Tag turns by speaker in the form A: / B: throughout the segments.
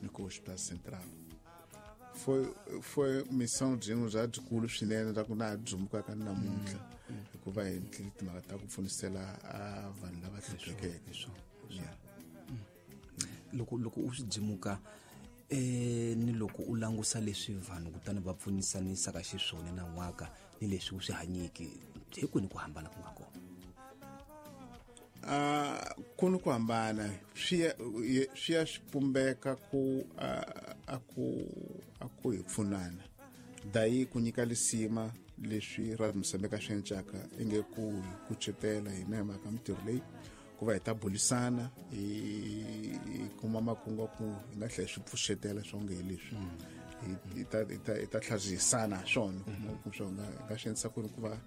A: Ni ku Hospital Central foi missão byin'we bya byikulu swinene bya ku na ha dzumukaka ni namuntlha, hikuva hi endlile timhaka ta ku pfunisela a vanhu lava hluphekeke. Yeah.
B: Loko u swi dzimuka ni loko u langusa leswi vanhu kutani va pfunisanisaka xiswona na n'waka ni leswi u swi hanyiki, hi kwini ku hambana ku nga kona?
A: Ku ni ku hambana, swi ya swi pumbeka ku a ku hi pfunana dayi ku nyika lisima leswi Radio Mozambique swi encaka inge ku hi kucetela hina hi mhaka mintirho leyi ku va hi ta bulisana, hi kuma makungu ya ku hi nga tlhela swi pfuxetela swonge hi leswi hi ta tlhazihisana swona ku swo nga hi nga swi endlisa ku ri ku va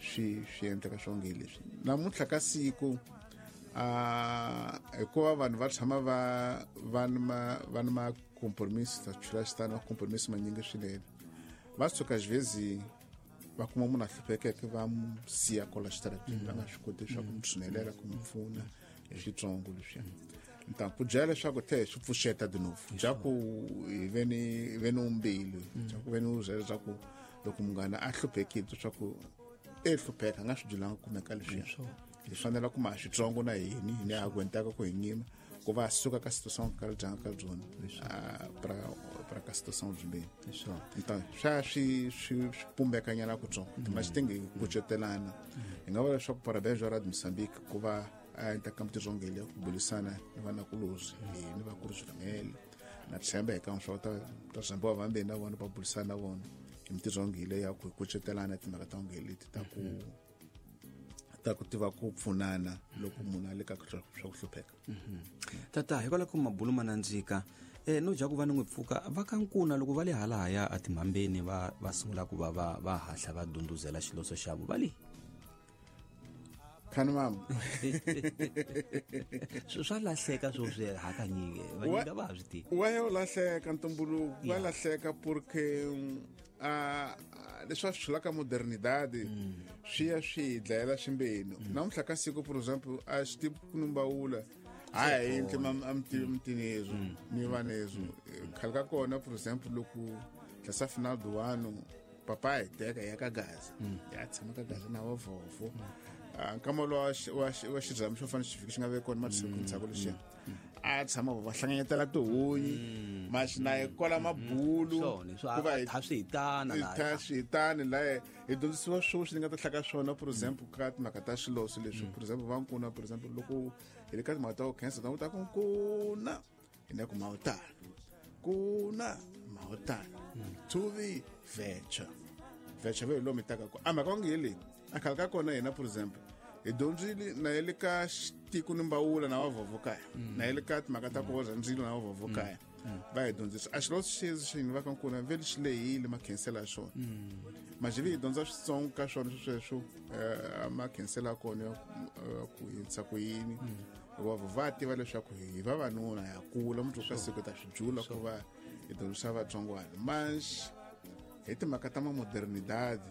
A: swi endleka swonge hi leswi namuntlha ka siku, hikuva vanhu va tshama va ni ma va ni ma compromise, ta chula xitani va compromise manyingi swinene. Va suka xivezi va kuma munhu a hluphekeke, va mu siya kwala xitarateni, va nga swi koti leswaku mu tshinelela ku mu pfuna hi switsongo leswiya. Nta ku byela leswaku tlhe hi swi pfuxeta de novo bya ku hi ve ni umbilu bya ku ve ni uzela bya ku loko munghana a hluphekile, leswaku e hlupheka a nga swi byelanga kumeka leswiya, hi fanele ku ma switsongo na hini hi ni aguentaka ku hi nyima ku va suka ka situação ka dyanga ka byona pra ka situação byimbeni. Então swa swi pumbekanyana kutsongo, mas tem que kucetelana. Hi nga vula leswaku parabéns wa Radio Mozambique ku va a endla ka mintirho ngele ku bulisana ni vanakulozi hi ni vakulu swinene. Na tshemba hi ka swa ta zambiwa vambeni na vona va bulisana na vona hi mintirho ngele ya ku kucetelana timhaka ta ngele leti ta ku tiva ku pfunana loko munhu a le ka swa ku hlupheka.
B: Tata, hikwalaho ko mabulu ma nandzika, no dya ku va ni n'wi pfuka va ka nkuna loko va le halahaya etimhambeni va sungula ku va hahla va dunduzela xiloso xavo va le
A: Khani mama.
B: Swa lahleka swo swi hakanyingi vanyingi a va ha swi tivi.
A: Wa ya u lahleka ntumbuluko wa lahleka porque a leswi va swi chulaka modernidade swi ya swi hi dlayela swimbeni namuntlha ka siku. For example, a xi tivi ku numbawula hayi yindlu amtini ezwo ni vanezwo khale ka kona. For example, loko tlasa final do ano papa hi teka hi ya ka gaza, ya tshama ka gaza na vavhovho. Nkama lowa wa xirhami xo fana xi fika xi nga ve kona masiku ndzhaku lexiya a tshama va hlanganyetela tihunyi maxi na hi kola mabulu.
B: Swona swo
A: ku va
B: a tha swi hitana
A: hi
B: laha.
A: Tha swi hitani laha hi dyondzisiwa swo swi nga ta hlaka swona. For example, ka timhaka ta swiloso leswi, for example, va nkuna, for example, loko hi le ka timhaka ta ku khensa ta ku nkuna hi na ku mawutana kuna mawutana thuvi vecha vecha ve hi lomu hi taka ko a mhaka onge hi leyi a khale ka kona hina. For example, hi dyondzile na ye le ka xitiko ni mbawula na vavhovho kaya, na ye le ka timhaka ta ku oza ndzilo na vavhovho kaya va hi dyondzisa a xiloso xezi xini va ka nkuna vele xi lehile makhensela ya xona majivi hi dyondza switsongo ka swona sweswo makhensela ya kona ya ku hindza ku yini, hikuva va tiva leswaku hi vavanuna ya kula mundzuku ka siku ta swi jula ku va hi dyondzisa vatsongwana. Mas hi timhaka ta mamodernidade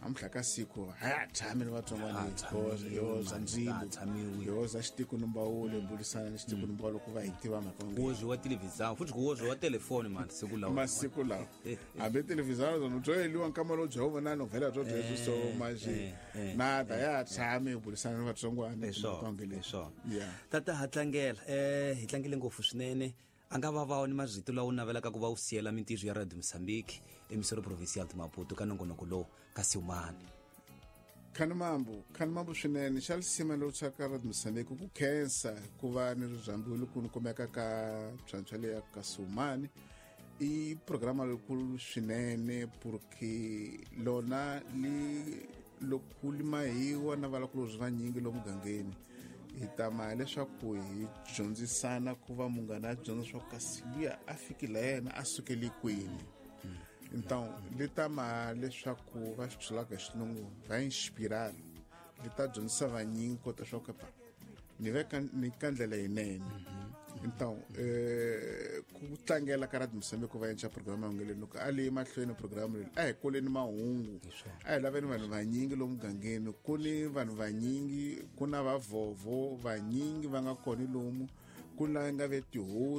A: namuntlha ka siku a ya tshami ni vatsongwana.
B: Ha tshamiwi,
A: Yoza
B: mani,
A: ndzilo
B: ha tshamiwi.
A: Yoza xitiko ni mbawulo hi bulisana ni xitiko ni mbawulo ku va hi tiva mhaka
B: Ku wozwiwa televhizão futhi ku wozwiwa telefoni mani siku lawa.
A: Masiku lawa hambi televhizão zona byo heliwa nkama lowu bya vona novhela byo byebyo so manje nada ya tshami hi bulisana ni vatsongwana.
B: Hi swona,
A: Timhaka
B: hi swona.
A: Yeah.
B: Tata, ha tlangela, hi tlangele ngopfu swinene. A nga va va ni marito lawa u navelaka ku va u siyela mintirho ya Radio Mozambique, Emissora Provincial de Maputo, ka nongonoko lowu ka Siumani?
A: Khani mambu, khani mambu swinene. Xa lisima lowu tshaka Radio Mozambique ku khensa ku va ni rirhambiwe loko ni kumeka ka phyamphya leya ka Siumani i programa leyikulu swinene, porque lona li loko li mahiwa na valakulozi vanyingi lomu mugangeni hi tama leswaku hi dyondzisana ku va munghana a dyondza swa ku kasi luya a fikile yena a sukele kwini. Então li tama leswaku va swi byelaka hi xilungu va inspirar, li ta dyondzisa vanyingi kota swa ku pa ni veka ni ka ndlela yinene. Então ku tlangela ka Radio Mozambique ku va endla programa yonge loko a li mahlweni programa leyi a hi kuleni mahungu, a hi laveni vanhu vanyingi lomu mugangeni. Ku ni vanhu vanyingi, ku na vavhovho vanyingi va nga kona lomu ku la nga ve tihosi.